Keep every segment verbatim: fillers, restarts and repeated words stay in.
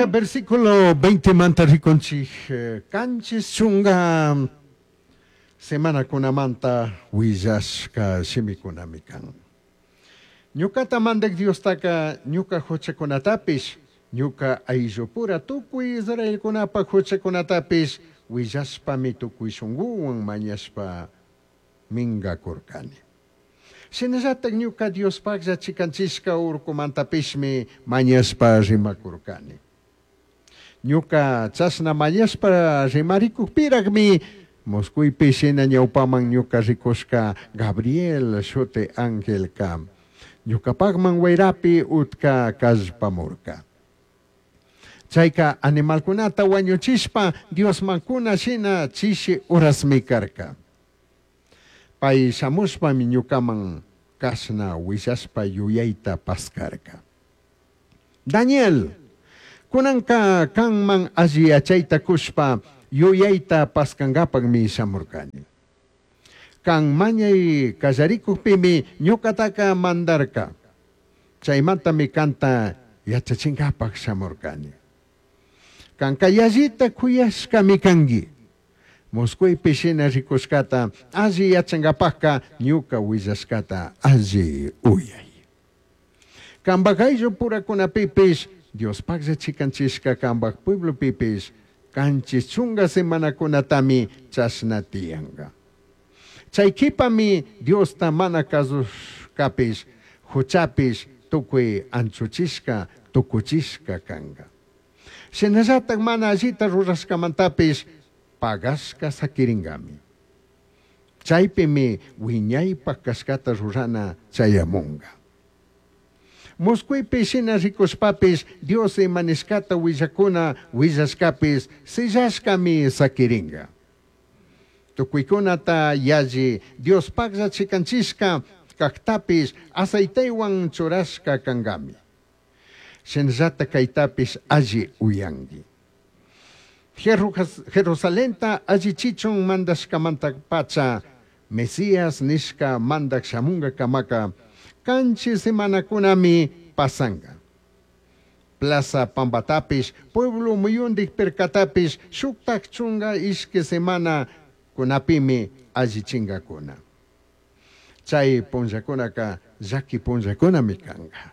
Kunanka versículo veinte manta rikunchik kanchis chunga semanakunamanta willashka shimikunami kan. Ñukata mandak Diostaka ñuka huchakunatapish, ñuka ayllupura tukuy Israelkunapa huchakunatapish willashpami tukuy shunkuwan mañashpa mingakurkani. Shinallatak ñuka Diospaklla chikanchishka urkumantapishmi mañashpa rimakurkani. Ñuka chashna mañashpa rimarikukpirakmi Moscuypi shina ñawpaman ñuka rikushka Gabriel shuti angelka ñukapakman wayrapi utka kallpamurka. Chayka animalkunata wañuchishpa Diosmankuna shina chishi urasmi karka. Pay shamushpami ñukaman kashna willashpa yuyayta paskarka. Daniel, kunanka kanman alli yachayta kushpa yuyayta paskankapakmi shamurkani. Kan mañay kallarikukpimi ñukataka mandarka. Chaymantami kanta yachachinkapak shamurkani. Kanka yallita kuyashkami kanki. Moscuypi shina rikushkata alli yachankapakka ñuka willashkata alli uyay. Kanpak ayllu purakunapipish Diospaklla chikanchishka kanpak pueblopipish kanchis chunga semanakunatami chashna tiyanka. Chay kipami Diosta mana kasushkapish huchapish tukuy anchuchishka tukuchishka kanka. Shinallatak mana allita rurashkamantapish pagashka sakirinkami. Chaypimi wiñaypak kashkata rurana chayamunka. Moscuypi shina rikushpapish Dios imanishkata willakuna willashkapish sillashkami sakirinka. Tukuykunata yalli Diospaklla chikanchishka kaktapish aceitewan churashka kankami. Shinallata kaytapish alli uyanki. Jerusalenta allichichun mandashkamanta pacha Mesías nishka mandak shamunga kamaka kanchis semanakunami pasanka. Plaza pampatapish, pueblo muyundik pirkatapish shuktak chunga ishki semana kunapimi allichinkakuna. Chay punllakunaka llaki punllakunami kanka.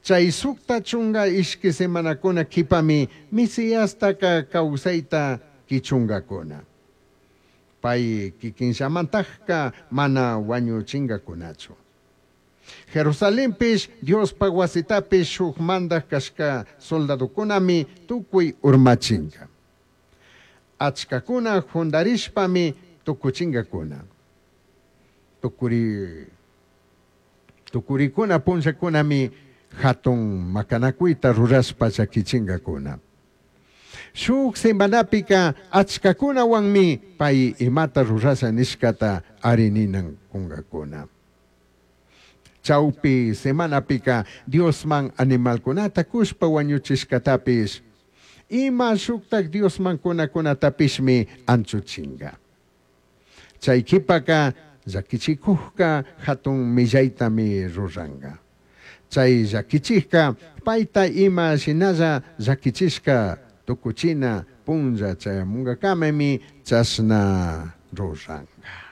Chay sukta chunga ishki semanakuna kipami Mesiastaka kawsayta kichunkakuna. Pay kikinllamantakka mana wañuchinkakunachu. Jerusalenpish Diospak wasitapish shuk mandak kashka soldadokunami tukuy urmachinka. Achkakuna jundarishpami tukuchinkakuna. Tukuri, tukurikuna punllakunami hatun makanakuyta rurashpa llakichinkakuna. Shuk semanapika achkakunawanmi pay imata rurasha nishkata arininan kunkakuna. Chawpi semanapika Diosman animalkunata kushpa wañuchishkatapish ima shuktak Diosman kunakunatapishmi anchuchinka. Chay kipaka llakichikukka hatun millaytami ruranka. Chay llakichikka payta ima shinalla llakichishka tukuchina punlla chayamunkakamami chashna ruranka.